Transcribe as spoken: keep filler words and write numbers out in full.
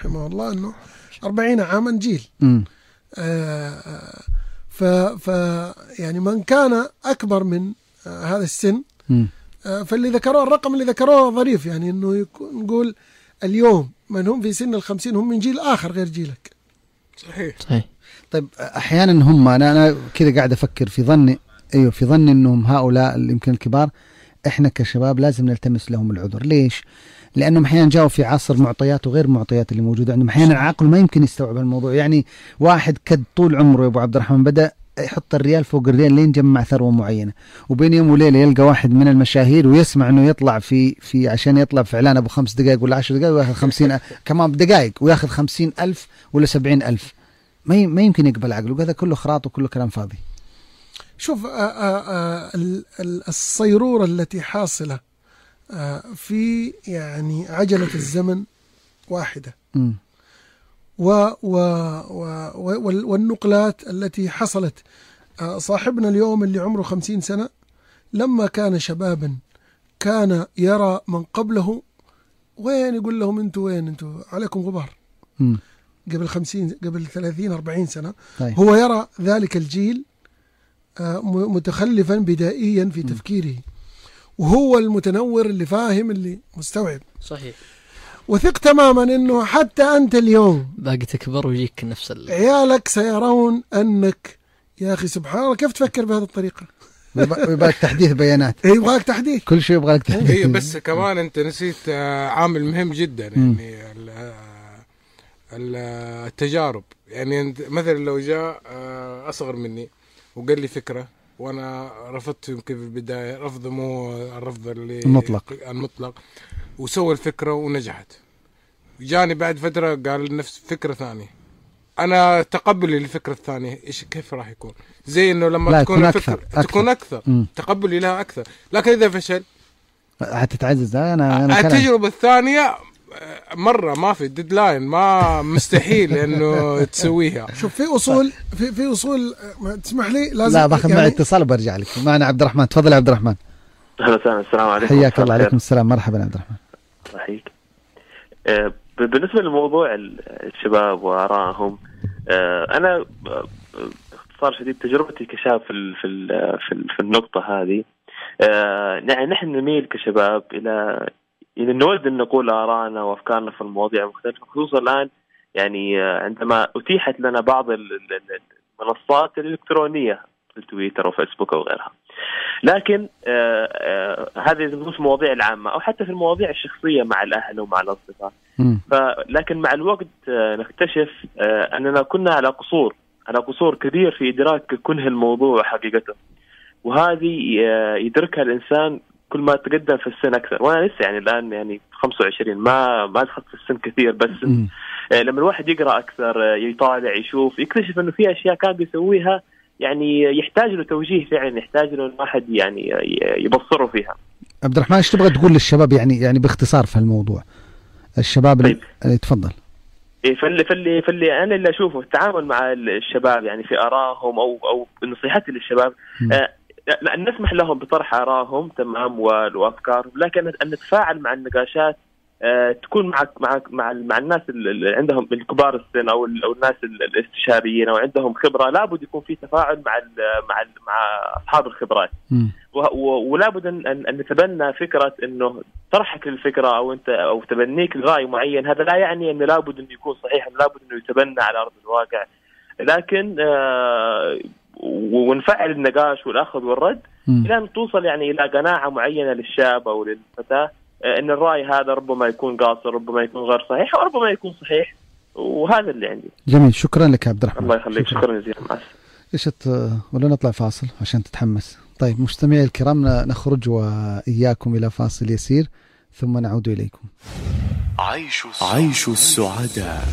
رحمه الله أنه أربعين عاما جيل. آه ف, ف يعني من كان أكبر من آه هذا السن آه فاللي ذكروه الرقم اللي ذكروه ظريف، يعني أنه نقول اليوم من هم في سن الخمسين هم من جيل آخر غير جيلك. صحيح صحيح. طيب أحيانا هم أنا أنا كذا قاعد أفكر في ظني أيوه في ظني أنهم هؤلاء اللي يمكن الكبار إحنا كشباب لازم نلتمس لهم العذر. ليش؟ لأنهم أحيانا جاءوا في عصر معطيات وغير معطيات اللي موجودة عندهم. أحيانا العقل ما يمكن يستوعب الموضوع. يعني واحد كد طول عمره يا أبو عبد الرحمن بدأ يحط الريال فوق الريال لين جمع ثروة معينة، وبين يوم وليلة يلقى واحد من المشاهير ويسمع إنه يطلع في في عشان يطلع في إعلان أبو خمس دقائق ولا عشر دقائق ويأخذ خمسين كمان دقائق ويأخذ خمسين ألف ولا سبعين ألف. ما ما يمكن يقبل عقله، وهذا كله خراط وكله كلام فاضي. شوف آآ آآ الصيرورة التي حاصلة في يعني عجلة الزمن واحدة، و و و والنقلات التي حصلت. صاحبنا اليوم اللي عمره خمسين سنة لما كان شبابا كان يرى من قبله وين، يقول لهم انتوا وين، انتوا عليكم غبار. م. قبل خمسين قبل ثلاثين أربعين سنة طيب. هو يرى ذلك الجيل متخلفا بدائيا في تفكيره، وهو المتنور اللي فاهم اللي مستوعب. صحيح. وثق تماما انه حتى انت اليوم باقي تكبر ويجيك نفس ال... عيالك سيرون انك يا اخي سبحان الله كيف تفكر بهذه الطريقة. ويبغاك تحديث بيانات. ايه يبغاك تحديث، كل شيء يبغاك تحديث. ايه بس كمان انت نسيت عامل مهم جدا، يعني التجارب. يعني مثلا لو جاء اصغر مني وقال لي فكرة وانا رفضت يمكن في البداية رفض مو الرفض اللي المطلق المطلق وسوى الفكرة ونجحت، جاني بعد فترة قال نفس فكرة ثانية، أنا تقبلي للفكرة الثانية إيش كيف راح يكون؟ زي إنه لما تكون أكثر. فكرة أكثر. تكون أكثر م. تقبلي لها أكثر، لكن إذا فشل هتتعزز. أنا أنا التجربة الثانية مرة ما في ديدلاين، ما مستحيل إنه تسويها. شوف في أصول في في أصول تسمح لي لازم لا باخذ يعني معي اتصال وبرجع لك. معنا عبد الرحمن، تفضل يا عبد الرحمن. أهلا وسهلا. السلام عليكم. حياك الله. عليكم السلام. مرحبا عبد الرحمن. صحيح. بالنسبة لموضوع الشباب وآرائهم، أنا باختصار شديد تجربتي كشاب في في في النقطة هذه، يعني نحن نميل كشباب إلى إذا نود أن نقول آراءنا وأفكارنا في المواضيع المختلفة، خصوصا الآن يعني عندما أتيحت لنا بعض المنصات الإلكترونية في تويتر وفيسبوك وغيرها. لكن آه آه هذه مش مواضيع العامة أو حتى في المواضيع الشخصية مع الأهل ومع الأصدقاء. لكن مع الوقت آه نكتشف آه أننا كنا على قصور على قصور كبير في إدراك كنه الموضوع وحقيقته، وهذه آه يدركها الإنسان كل ما تقدم في السن أكثر. وأنا لسه يعني الآن يعني خمسة وعشرين، ما ما دخلت في السن كثير، بس آه لما الواحد يقرأ أكثر آه يطالع يشوف يكتشف إنه في أشياء كان بيسويها يعني يحتاج له توجيه فعلا، يحتاج له الواحد يعني يبصره فيها. عبد الرحمن ايش تبغى تقول للشباب يعني يعني باختصار في الموضوع الشباب؟ طيب. اللي تفضل. إيه فاللي فاللي فاللي انا اللي اشوفه التعامل مع الشباب يعني في ارائهم او او نصيحتي للشباب، آه ان نسمح لهم بطرح ارائهم تمام وافكارهم، لكن ان نتفاعل مع النقاشات آه تكون مع مع مع, مع الناس اللي عندهم الكبار السن او او الناس الاستشاريين او عندهم خبره. لابد يكون في تفاعل مع ال مع ال مع اصحاب الخبرات، ولابد ان ان نتبنى فكره انه طرحك للفكره او انت او تبنيك لراي معين، هذا لا يعني انه لابد انه يكون صحيح، لابد انه يتبنى على ارض الواقع، لكن آه ونفعل النقاش والاخذ والرد الى ان توصل يعني الى قناعه معينه للشاب او للفتاه ان الراي هذا ربما يكون قاصر، ربما يكون غير صحيح، وربما يكون صحيح. وهذا اللي عندي. جميل، شكرا لك يا عبد الرحمن. الله يخليك. شكرا, شكرا جزيلا. مع ايش ولا نطلع فاصل عشان تتحمس؟ طيب مستمعي الكرام نخرج واياكم الى فاصل يسير ثم نعود اليكم. عيش السعداء.